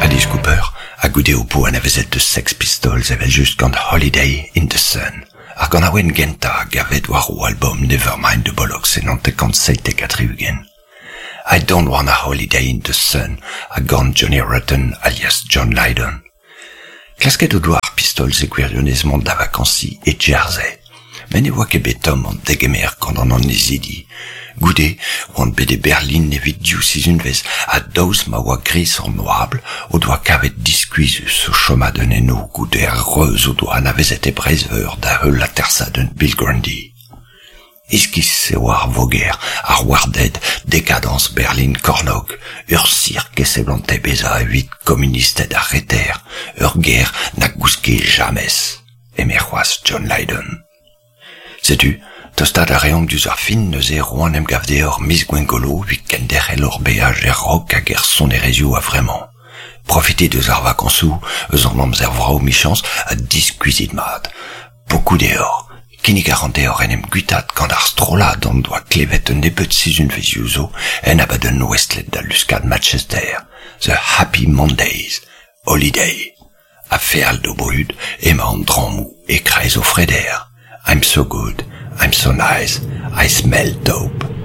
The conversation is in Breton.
Alice Cooper, ha goude ho po anavezet The Sex Pistols evel-just gant Holiday in the Sun, ar ganaouenn gentañ a gaved war o albom Nevermind the Bollocks e 1977. I Don't Want a Holiday in the Sun a gan Johnny Rotten alias John Lydon. Klasket o doa ar Pistols e gwirionez mont da vakañsiñ e Jersey, met ne oa ket bet tomm an degemer gant an annezidi. Goude oant bet e Berlin evit div sizhunvezh ha daoust ma oa gris an oabl o doa kavet diskuizhus o chomadenn eno goude ar reuz o doa anavezet e Breizh-Veur da heul atersadenn Bill Grundy. Iskis e oa ar voger, ar warded, dekadañs Berlin Kornôg, ur sirk e seblante bezañ evit komunisted ar Reter, ur gêr na gouske james, eme c'hoazh John Lydon. Setu, tostaat a reomp diouzh ar fin neuze roan emgav deoc'h miz Gwengolo evit kenderc'hel hor beaj er rock hag er sonerezhioù a-vremañ. Profitit eus ar vakañsoù, eus an amzer vrav 'michañs, ha diskuizhit mat. Pokoù deoc'h, kinnig a ran deoc'h en em guitaat gant ar strollad hon doa klevet un nebeud sizhunvezhioù zo en abadenn ouestlet da luskad Manchester, The Happy Mondays, Holiday. Ha feal d'o brud emañ an drammoù e-kreiz o freder. I'm so good, I'm so nice, I smell dope.